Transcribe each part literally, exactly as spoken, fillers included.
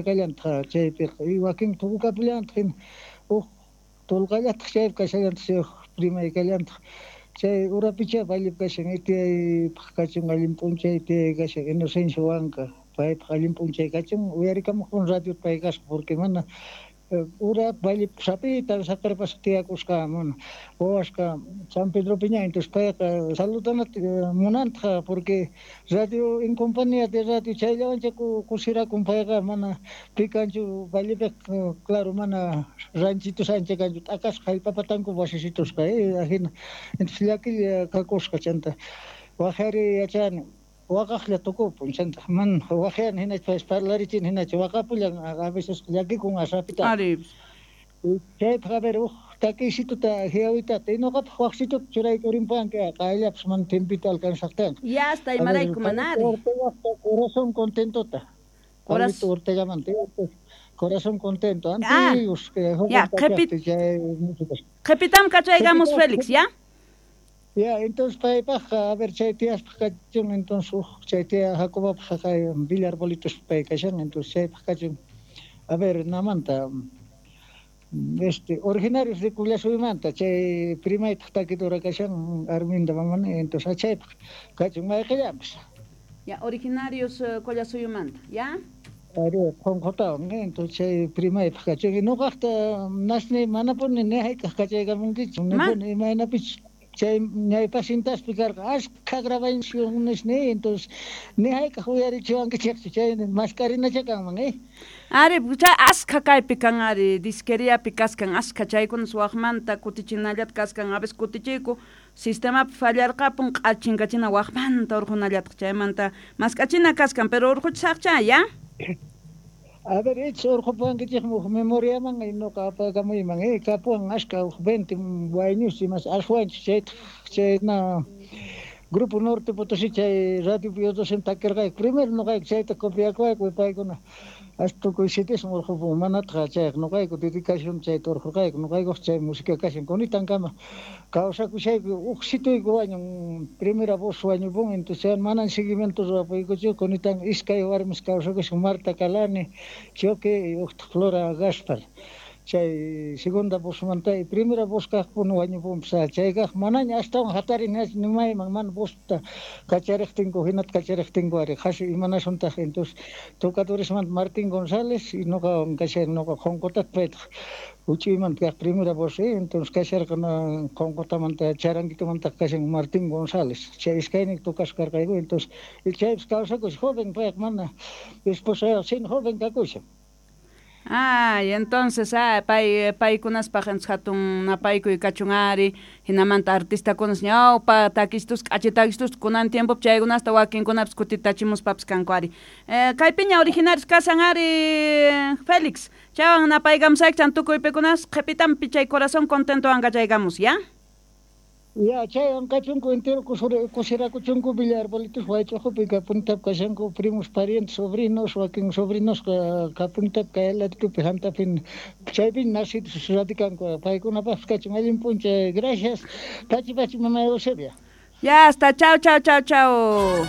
Kallantaq chaypiqa wakin tukukapillantaq hina huk tolqallataq chaypi kashallantaq chay primay kallantaq chay urapicha vallepi kashan itiyaypaq kachun allin p'unchay itiyay kashan Inocencio Huanca paypaq allin p'unchay kachun uyarikamuqpun radio pay kasqa porque mana ura vallepi sapita saqerpasqa tiyakusqa mana wawasqa San Pedropiña entonces payqa saludanata munantaq porque radio en compañía de radio chayllawancha kusirakun payqa mana pikanchu vallepiqa claro mana ranchitos ancha kanchu t'akasqa hallp'apatanku wasisitusqa ajina entonces llakilla kakusqa chanta waqhari yachani waqaqlla tukupun chanta mana waqyani hinachu parlarichini hinachu waqapullan a veces llakikun asapita Ari. Chaypaq a ver huk takiysituta hiawitata y ñuqapaq waqsituta churaykurinpanki qayllapas mana tiempito alcanzaqtinqa. Ya hasta imarayku manari. Corazón contentota. Corazón Ortegamanta corazón contento. Ah, Antiguos que ya, qhipitam kachaykamos Félix, ¿ya? Ya, entonces paypaqqa, a ver, chay tiyaspaq kachun, entonces huk chay tiya Jacobapaq kay Villa Arbolitos pay kashan, entonces chaypaq kachun, a ver, namanta, este, originarios de Qullasuymanta, chay primaytaq takidura kashan, Arminda mamani, entonces chaypaq kachun mayqillanpas. Ya, originarios uh, Qullasuyumanta, ¿ya? Ari, qunqutawan, entonces chay primaypaq kachun, y ñuqaqta nasni manapuni ni hayk'aq kachaykamunkichu, nipuni imaynapichu. Chay ñaypasintaspi karqa ashkha grabaciones ni entonces ni hayk'aq uyarichiwankichikchu chay maskarinacha kanman eh. Ari, chay ashkha kaypi kan ari disqueriapi kaskan ashkha chaykuna waqmanta kutichinallata kaskan a veces kutichiyku sistemapi fallarqapun q'achinkachina waqmanta urqunallataq chaymanta mask'achina kaskan pero urquchisaqcha ya. A ver, ich urqupuwankichikmi huk memoriaman y ñuqa apakamuyman eh kapuwan ashka huk veinte wayñus imas ashwanchis chaytaq chayna Grupo Norte Potosí chay radio Biodocen takirqayku primero ñuqayku chayta copiakuwayku paykuna hasta tukuy sitismi urqupun manataq chayqa ñuqayku dedicación chayta urqurqayku ñuqaykuq chay música kashan kunitankama kawsakushayku huk situyku wañun primera voz wañupun entonces manan seguimiento ruwapuykuchu kunitan iskay warmis kawsakushan Marta Calani Choque y uktaq Flora Gaspar chay segunda vozmanta y primera voz kaqpun wañupunpas chaykaq manaña astawan hatarin nimayman mana vozta kachariqtinku hinata kachariqtinku ari qhasi imanasuntaq entonces tocadoresmanta Martín González y ñuqawan kashan ñuqa qunqutata paytaq huch'uymanta kaq primera voz entonces kasharqa qunqutamanta charanguitumanta kashan Martín González chay iskaynin tocasqa karqayku entonces chaypas kawsakushan joven payqa mana esposa sin joven kakushan. Ay, entonces, ah, pay paykunaspaq hatun napaykuy kachun ari, hinamanta artistakunas ñawpa takistus k'achi takistus kunan tiempopi chaykunasta wakinkunapas kutitachimuspapas kanku ari. Eh, kaypiña originarios kasan ari Félix, chaywan napaykamusayki chan tukuypikunas qhipitampi chay corazón contentowan kachaykamus, ¿ya? Ya, chaywan kachunku entero kusirakuchunku Villa Arbolitos Waych'uqupi kapunitap kashanku primos, parientes, sobrinos, wakin sobrinos kapunitap kay laditupi Santafin chaypi nacidos radikanku paykunapaqpas kachun allin p'unchay gracias pachi pachi mama Eusebia. Ya hasta chao chao chao chao.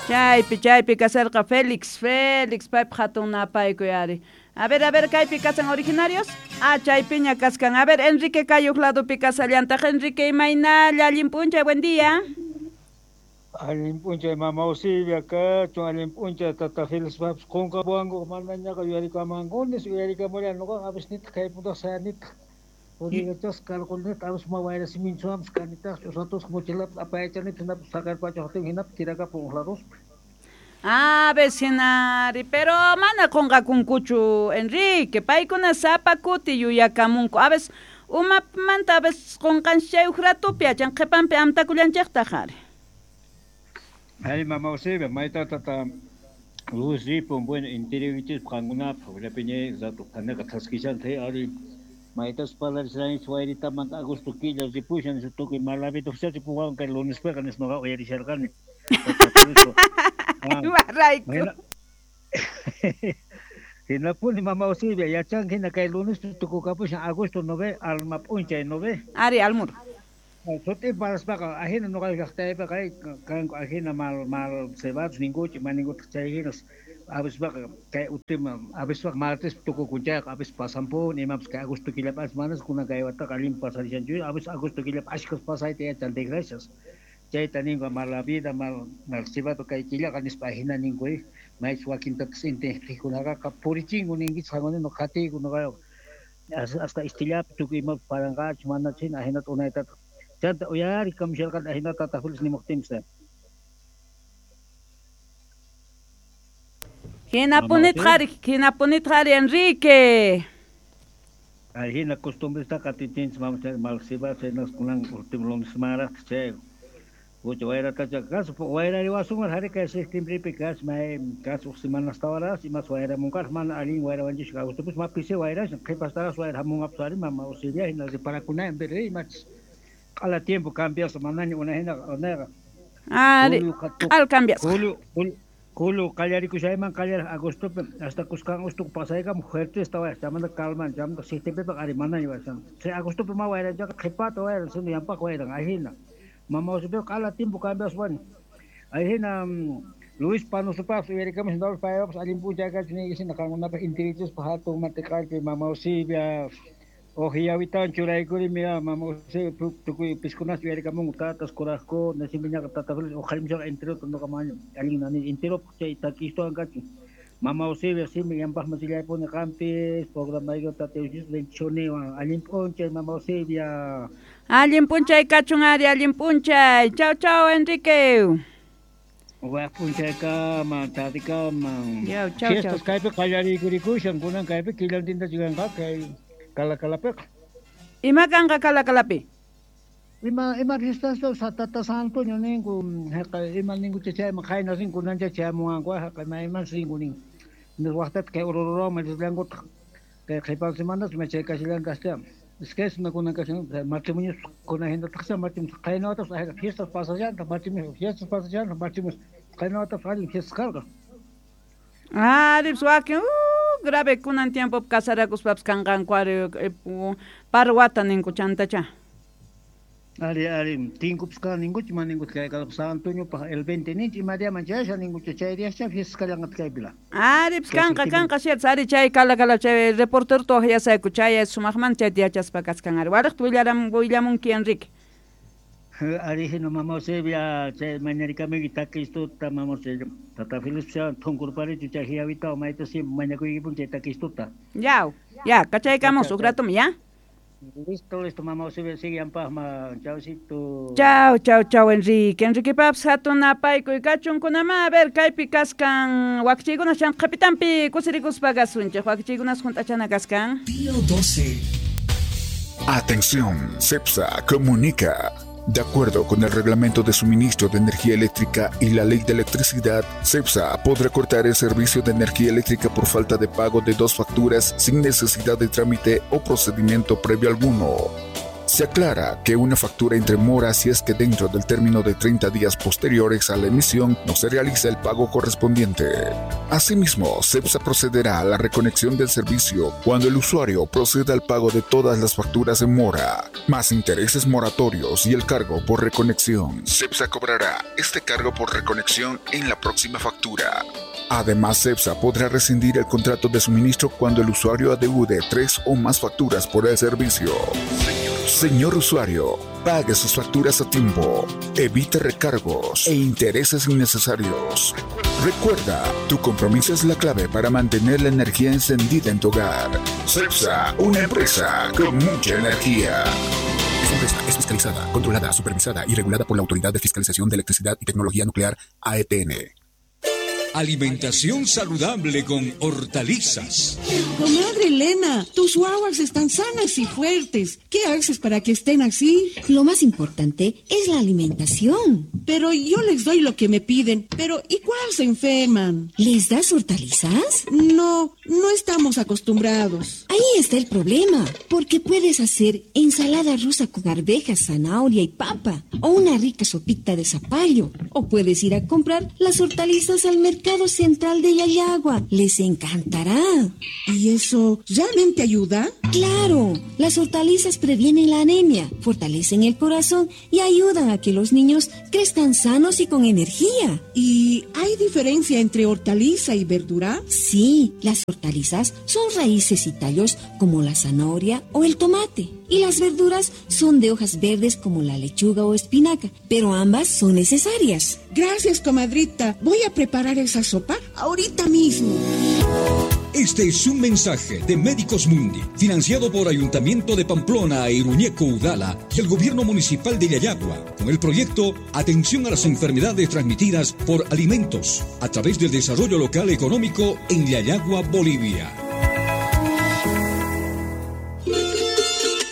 Chaypi chaypi kasarqa Félix Félix paypaq hatun napaykuy ari. A ver, a ver, kaypi kasan originarios. Ah, chaypiña kaskan. A ver, Enrique kayuq ladopi kasallantaq. Enrique, imaynalla, allin p'unchay, buen día. Allin p'unchay, mama Eusebia, kachun, allin p'unchay, tata Félix papas qunqapuwanku, manañaqa uyarikamankunis, uyarikamullan ñuqaqa a veces nitaq kaypuntaq sayanitaq. Puriyachasqa karqunitaq, a veces ma wayrasiminchuwanpas kanitaq, ch'usatusqa mochilapas apayachanitaq, hinapas saqerpachuqtin hinapas tirakapun huk laduspi. Ah, vecinari, pero mana qunqakunkuchu, Enrique, paykuna sapa kuti yuyakamunku. A veces umapmanta a veces qunqanchik chay huk ratupi achan qhipanpi amtakullanchiktaq ari. Ay, mama Eusebia, mayta tata Luis ripun, bueno, interiorichispa qankunapaq, willapiñay rato qanaqa thaskishanta ari maytas parlarisharanchis wayritamanta agosto killa ripushan tukuy malavituqcha ripuwan kay lunespiqa nispa nuqa uyarisharqani. Imarayku. Hinapuni mama Eusebia, yachanki hina kay lunespi tukukapushan agosto nove, alma p'unchay nove. Ari, almur. Sut'i paraspaqa ajina nuqa llaqtaypiqa kanku ajina mal mal cebados ninkuchi maninkutaq chay hinas avispaqa kay última avispaqa martes tukukun chayqa avis pasanpuni imapas kay agosto killapi manas kunan kay wataqa allin pasarishanchu avis agosto killapi ashkas pasayta yachan desgracias chayta ninku mala vida mal mal cebado kay killaqa nispa ajina ninku maychus wakintatas intijkunaqa purichinku ninkichis qankunino qatiyku nuqayqa hasta istillapi tukuy imapas paranqachu mana chayna ajinata unaytataq chanta uyari kamusharqani ajinata tata Félix nimuqtinpis. Hinapunitaq ari, hinapunitaq ari Enrique. Ajina costumbresta qatichinchis mama mal cebado chaynas kunan último lunes semanaraqtaq chay Ucha wayratacha kas wayrariwasunman hari kay septiembrepi kas may kas uq semanastawaraq imas wayramunqaraq mana allin wayrawanchis agostopis ma pisi wayrashan qhipastaraq wayra hamunqapas ari mama Auxilia hina reparakunayan pero imachis q'ala tiempo cambiasqa manaña unayhina unayqa ari q'al cambiasqa julio julio qallarikushayman qallaraq agostopi hasta kuskan agosto pasaykama fuerte wayra chaymanta calman chaymanta septiembrepiqa ari manaña wayran chay agostopi ma wayran chayqa qhipata wayran sino yanpaq wayran ajina mama Auxilia q'ala tiempo cambiaspa ajina Luis Panosupaq uyarikamush paypapas allin p'unchay kachun niykisina qankunapaq intirichispa hatun matiqallpi mama Auxilia uj yawitawan churaykurimi mama Auxilia tukuy piskunas uyarikamunku tatas kurajkuna simpiñaqa tata Félix uqharimushaqa enterota nuqa maña allin nani enteropaq chay takistuwan kachun mama Auxilia simi yanpaqman sillaypuni qampis programayki tata bendicionewan allin p'unchay mama Auxilia. Allin p'unchay kachun ari, allin p'unchay. Chau chau Enrique. Waq p'unchaykama tardikama. Yaw chau chau. Fiestas kaypi qallariykuriykushan kunan kaypi killantinta chikanqa kay Calacalapiqa. Ima kanqa Calacalapi? Ima ima fiestas tata San Antonio ninku haqa ima ninku chayman qayna rinku kunancha chayamunqanku haqa mayman rinku nin. Waqtata kay Orororoma rillankutaq kay qhipan semanas ma chay kashallantaqcha. Es que es una kunan kashan matrimonios kunan hinataqcha matrimonios qayna watas fiestas pasallantaq matrimonios fiestas pasallantaq matrimonios qayna watas allin fiestas karqa. Ari wakin uh, grave kunan tiempo casarakuspapas kanqanku ari par wata ninku chantacha. Ari ari tinkupas kan ninkuchi mana ninkuchi kay San Antoniopaq el veinte ninchi ima diaman chayasha ninkuchi chay diascha fiestas kallanqataq kaypila. Ari pues kanqa kanqa cierto ari chay Calacala chay reportero waqyasayku chay sumaqmanta chayta yachaspa kaskan ari wariqta willaram willamunki Enrique. Ari hina mama Auxilia chay mañarikamuyki takistuta mama Auxilia tata Félix thunkurparichu chay hiyawitawan mayta si mañakuykipuni chay takistuta. Yaw ya kachaykamus uj ratumi ya. Listo, listo, mama Auxilia, sigue yanpaqman. Chaucito. Chau, chau, chau, Enrique. Enrique papas hatun napaykuy kachun kunama. A ver, kaypi kaskan wakichiykunas chan qhapitanpi kusirikuspa kasunchik. Wakichiykunas junt'achana kaskan. Pío doce. Atención, CEPSA comunica. De acuerdo con el Reglamento de Suministro de Energía Eléctrica y la Ley de Electricidad, CEPSA podrá cortar el servicio de energía eléctrica por falta de pago de dos facturas sin necesidad de trámite o procedimiento previo alguno. Se aclara que una factura entre mora si es que dentro del término de treinta días posteriores a la emisión no se realiza el pago correspondiente. Asimismo, CEPSA procederá a la reconexión del servicio cuando el usuario proceda al pago de todas las facturas en mora, más intereses moratorios y el cargo por reconexión. CEPSA cobrará este cargo por reconexión en la próxima factura. Además, CEPSA podrá rescindir el contrato de suministro cuando el usuario adeude tres o más facturas por el servicio. Señor usuario, pague sus facturas a tiempo, evite recargos e intereses innecesarios. Recuerda, tu compromiso es la clave para mantener la energía encendida en tu hogar. CEPSA, una empresa con mucha energía. Esta empresa es fiscalizada, controlada, supervisada y regulada por la Autoridad de Fiscalización de Electricidad y Tecnología Nuclear, A E T N. Alimentación saludable con hortalizas. Comadre Elena, tus guaguas están sanas y fuertes. ¿Qué haces para que estén así? Lo más importante es la alimentación. Pero yo les doy lo que me piden. Pero igual se enferman. ¿Les das hortalizas? No, no estamos acostumbrados. Ahí está el problema. Porque puedes hacer ensalada rusa con arvejas, zanahoria y papa. O una rica sopita de zapallo. O puedes ir a comprar las hortalizas al mercado Central de Llallagua. Les encantará. ¿Y eso realmente ayuda? Claro, las hortalizas previenen la anemia, fortalecen el corazón y ayudan a que los niños crezcan sanos y con energía. ¿Y hay diferencia entre hortaliza y verdura? Sí, las hortalizas son raíces y tallos como la zanahoria o el tomate. Y las verduras son de hojas verdes como la lechuga o espinaca, pero ambas son necesarias. Gracias, comadrita. Voy a preparar esa sopa ahorita mismo. Este es un mensaje de Médicos Mundi, financiado por Ayuntamiento de Pamplona e Iruñeco Udala y el Gobierno Municipal de Llallagua, con el proyecto Atención a las Enfermedades Transmitidas por Alimentos, a través del Desarrollo Local Económico en Llallagua, Bolivia.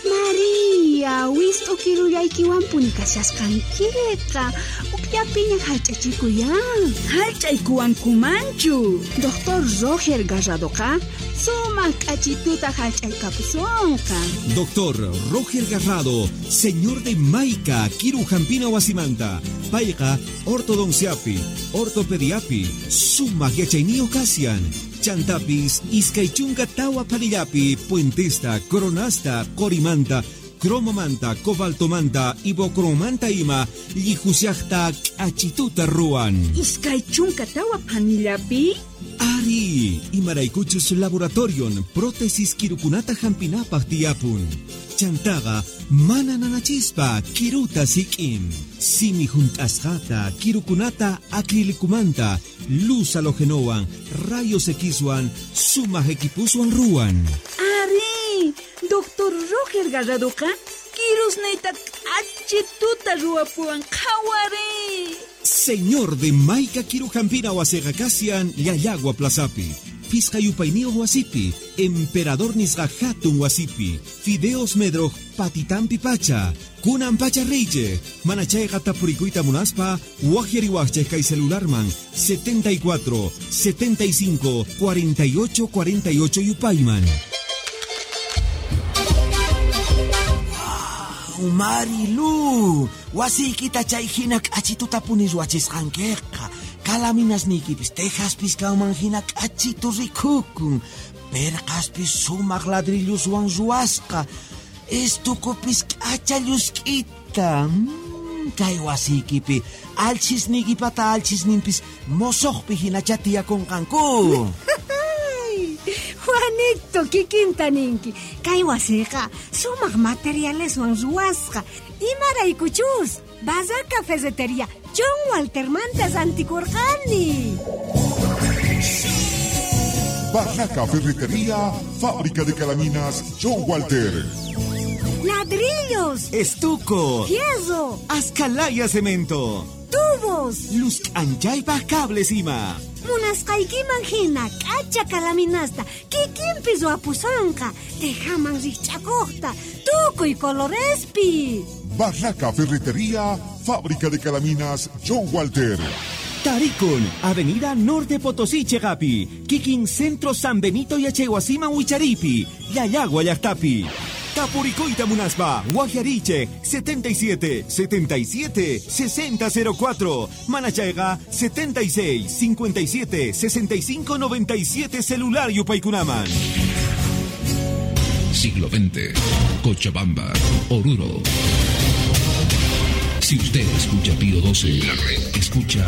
María, wist'ukirullaykiwanpuni kashasqankiqa. Ukllapiña hallch'achikuyan. Hallch'aykuwankumanchu. Doctor Roger Garradoqa sumaq k'achituta hallch'aykapusonqa. Doctor Roger Garrado, señor de Maica, Kirujampina wasimanta, payqa ortodonciapi, ortopediapi, sumaq yachayniyuq kashan. Chantapis, iskay chunka tawa phanillapi, puentesta, coronasta, qorimanta, cromomanta, cobaltomanta, ibocromanta ima, llijusiajta k'achituta ruwan. Iskay chunka tawa phanillapi? Ari, imaraykuchus laboratorion, prótesis kirukunata hampinapaj tiyapun. Chantaqa mana nanachispa kiruta sik'in. Simi junt'asqata, kirukunata acrilicumanta, luz halogenowan, rayos Xwan, sumaq equipuswan ruwan. Ari, Doctor Roger Garradoqa kirusniyta k'achituta ruwapuwan qhawari. Señor de Maica Kirujampina wasiqa kashan Llallagua Plazapi, Pisqa yupayniyuq wasipi, Emperador nisqa hatun wasipi, Fideos Medroj patitampi pacha, kunan pacha riychej, mana chayqa tapurikuyta munaspa, waqyariwaqchej kay celularman setenta y cuatro, setenta y cinco, cuarenta y ocho, cuarenta y ocho yupayman. Marilu, wasiykita chay hina k'achituta puni ruwachisqankiqa. Kalaminasniykipis tejaspis kanman hina k'achitu rikukun. Perqaspis sumaq ladrilluswan ruwasqa. Estukupis k'acha llusk'ita. Mm, kay wasiykipi alchisniykipata alchisninpis mosoqpi hinacha tiyakunqanku. Juanito, kikinta ninki. Kay wasiqa sumaq materialeswan ruwasqa. Imaraykuchus, Barraca Ferretería John Waltermanta rantikurqani. Barraca Ferretería, fábrica de calaminas John Walter. Ladrillos, estuco, fierro, ascalaya cemento, tubos, luz anchaypaj cables ima. Munasqaykiman hina k'acha kalaminasta kikinpis ruwapusonqa, tejaman rikch'akuqta, tukuy colorespi. Barraca Ferretería, fábrica de calaminas John Walter. Tarikun, Avenida Norte Potosí, Chegapi, Kikin Centro San Benito Yachaywasiman Wicharipi, Llallagua llaqtapi. Tapuricoita munaspa, Guajariche, setenta y siete, setenta y siete, sesenta cero cuatro, Manachayga, setenta y seis, cincuenta y siete, sesenta y cinco, noventa y siete, celular Yupaykunaman. Siglo veinte, Cochabamba, Oruro. Si usted escucha Pío doce, la red escucha